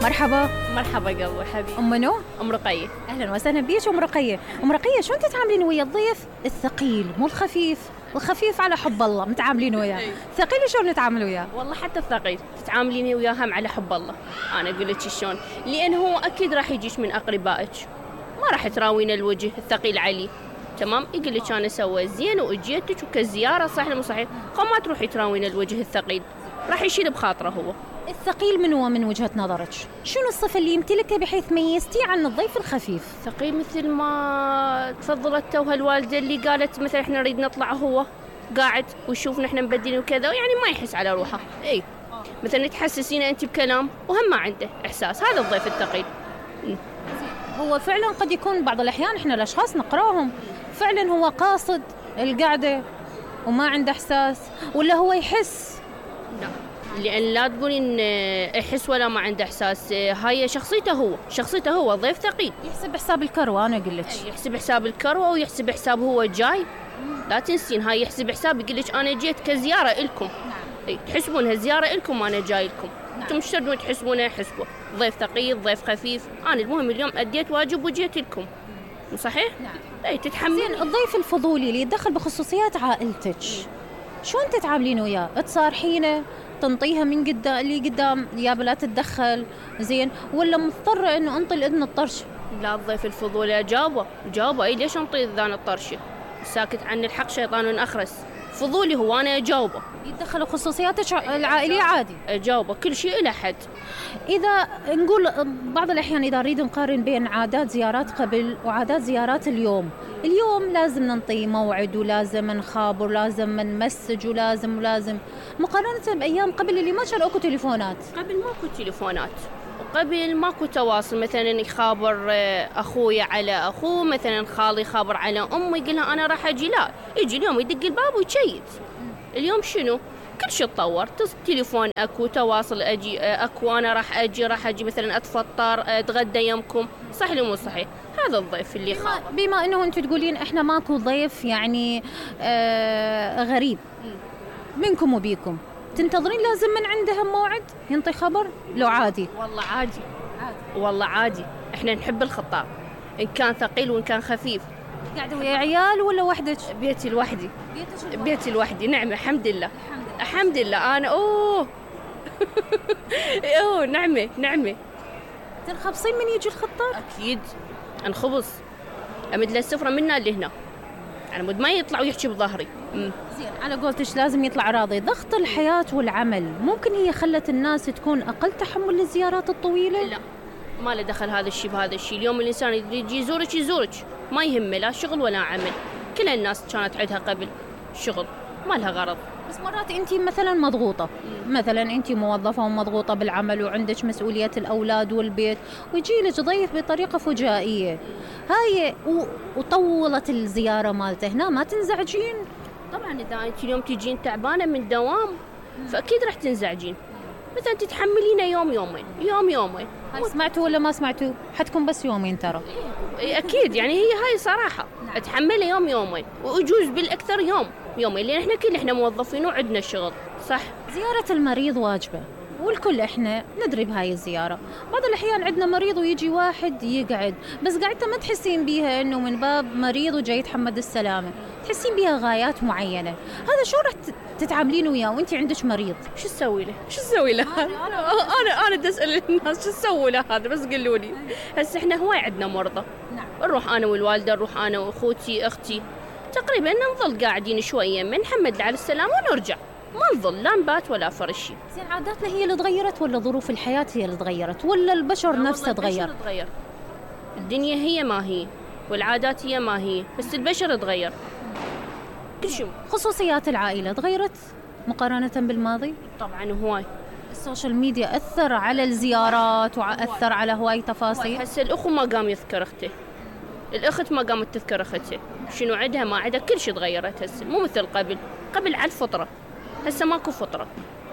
مرحبا. مرحبا قلبي حبيبي. ام منو؟ ام رقية. اهلا وسهلا بيك ام رقية. ام رقية شلون تتعاملين ويا الضيف الثقيل مو الخفيف؟ الخفيف على حب الله متعاملين وياه، الثقيل شلون نتعامل وياه؟ والله حتى الثقيل تتعاملين وياه هم على حب الله. انا اقول لك شلون، لان هو اكيد راح يجيش من اقربائك، ما راح تراوين الوجه الثقيل عليه. تمام، يقول لك انا سويت زين واجيتك وكزياره صحيح مو صحيح، ما تروحي تراوين الوجه الثقيل، راح يشيل بخاطره هو. الثقيل من هو من وجهة نظرك؟ شنو الصفة اللي يمتلكها بحيث ميزتيه عن الضيف الخفيف؟ ثقيل مثل ما تفضلت توها الوالدة اللي قالت مثلا احنا نريد نطلع هو قاعد ويشوفنا احنا مبدلين وكذا، يعني ما يحس على روحه. اي مثلا تحسسينه انت بكلام وهم ما عنده احساس، هذا الضيف الثقيل. هو فعلا قد يكون بعض الأحيان احنا الأشخاص نقراهم فعلا هو قاصد القعدة وما عنده إحساس، ولا هو يحس؟ لا، لأن لا تقولين يحس ولا ما عنده إحساس، هاي شخصيته هو ضيف ثقيل. يحسب حساب الكروة، أنا أقول لك يحسب حساب الكروة ويحسب حساب هو جاي. لا تنسين هاي يحسب حساب، يقول لك أنا جيت كزيارة إلكم. تحسبونها زيارة إلكم وأنا جاي لكم. أنتم مش تردون تحسبونها حسبه ضيف ثقيل ضيف خفيف. أنا المهم اليوم أديت واجب وجيت لكم، صحيح؟ نعم. أي تتحملين. الضيف الفضولي اللي يتدخل بخصوصيات عائلتك شلون تتعاملين وياه؟ تصارحينه، تنطيها من قدام اللي قدام يا بلا تتدخل زين، ولا مضطرة انه انطي الاذن الطرش؟ لا، الضيف الفضولي جاوبه اي ليش انطي اذان الطرشه؟ ساكت عن الحق شيطان اخرس. فضولي هو، انا اجاوبه. يتدخل بخصوصياتك العائلية عادي؟ اجاوبه كل شيء الى حد. اذا نقول بعض الاحيان اذا نريد نقارن بين عادات زيارات قبل وعادات زيارات اليوم لازم ننطي موعد ولازم نخابر ولازم نمسج ولازم مقارنة بايام قبل اللي ما كان اكو تليفونات. قبل ماكو تليفونات وقبل ماكو تواصل، مثلا يخابر اخويا على اخوه، مثلا خالي خابر على امي يقولها انا راح اجي، لا يجي اليوم يدق الباب ويشيت. اليوم شنو؟ كل شيء تطور، تليفون اكو، تواصل اجي اكو، انا راح اجي مثلا اتفطر اتغدى يمكم، صح ولا مو صحيح؟ هذا الضيف اللي خابر. بما انه انتم تقولين احنا ماكو ضيف يعني غريب منكم وبيكم، تنتظرين لازم من عندها موعد ينطي خبر لو عادي؟ والله عادي. والله عادي، احنا نحب الخطاب ان كان ثقيل وان كان خفيف. قاعده ويا عيال ولا وحدك؟ بيتي لوحدي. بيتي لوحدي، نعمه الحمد لله. الحمد لله. انا اوه نعمه. تنخبصين من يجي الخطاب؟ اكيد انخبص، امد له السفره منا لهنا، انا مود ما يطلع ويحكي بظهري. زين، على قولتش لازم يطلع راضي. ضغط الحياة والعمل ممكن هي خلت الناس تكون أقل تحمل للزيارات الطويلة؟ لا، ما له دخل هذا الشيء بهذا الشيء. اليوم الإنسان يجي يزورك ما يهمه لا شغل ولا عمل. كل الناس كانت عندها قبل شغل ما لها غرض. بس مرات أنت مثلا مضغوطة، مثلا أنت موظفة ومضغوطة بالعمل وعندك مسؤولية الأولاد والبيت ويجي لك ضيف بطريقة فجائية هاي وطولت الزيارة مالته، هنا ما تنزعجين؟ طبعا إذا أنت اليوم تجين تعبانة من دوام فأكيد راح تنزعجين. مثلا تتحملينه يومين. هل سمعتوا ولا ما سمعتوا؟ حتكون بس يومين ترى. أكيد يعني هي هاي صراحة. أتحمله يومين وأجوز بالأكثر يومين، لأن إحنا موظفين وعندنا شغل، صح؟ زيارة المريض واجبة والكل إحنا ندري بهاي الزيارة. بعض الأحيان عندنا مريض ويجي واحد يقعد، بس قاعدة ما تحسين بيها إنه من باب مريض وجاي يتحمد السلامة، تحسين بيها غايات معينة. هذا شو راح تتعاملين وياه وانت عندك مريض؟ شو تسوي له؟ انا بدي اسال الناس شو تسوي له هذا، بس قولوا لي. هسه احنا هواي عندنا مرضى. نعم. نروح انا والوالده، نروح انا واخوتي اختي، تقريبا نظل قاعدين شويه من نحمد على السلامه ونرجع، ما نظل لا نبات ولا فرشي. زين، عاداتنا هي اللي تغيرت ولا ظروف الحياه هي اللي تغيرت ولا البشر نفسه تغير؟ الدنيا هي ما هي والعادات هي ما هي، بس البشر تغير كل شيء. خصوصيات العائلة تغيرت مقارنة بالماضي؟ طبعا هواي. السوشيال ميديا أثر على الزيارات وأثر على هواي تفاصيل. هسه الأخو ما قام يذكر أخته، الأخت ما قامت تذكر أختها، شنو عندها ما عندها، كل شيء تغيرت هسه، مو مثل قبل على الفطرة، هسه ماكو فطرة،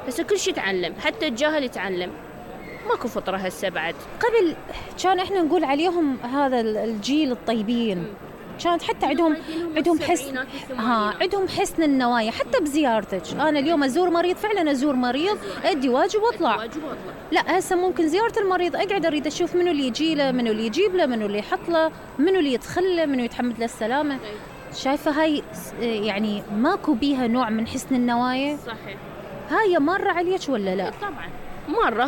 هسه كل شيء يتعلم، حتى الجاهل يتعلم، ماكو فطرة هسه بعد. قبل كان احنا نقول عليهم هذا الجيل الطيبين، كانت حتى عندهم حسن عندهم حسن النوايا حتى بزيارتك. انا اليوم ازور مريض، فعلا ازور مريض، ادي واجب واطلع. لا هسه ممكن زياره المريض اقعد اريد اشوف منو اللي يجي له، منو اللي يجيب له، منو اللي يحط له، منو اللي يدخل له، منو يتحمد له السلامه. شايفه هاي يعني ماكو بيها نوع من حسن النوايا؟ صحيح. هاي مره عليك ولا لا؟ طبعا مره،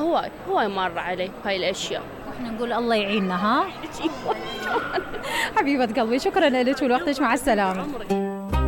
هواي مره علي هاي الاشياء. احنا نقول الله يعيننا. ها حبيبه قلبي، شكرا لك ولوقتك، مع السلامه.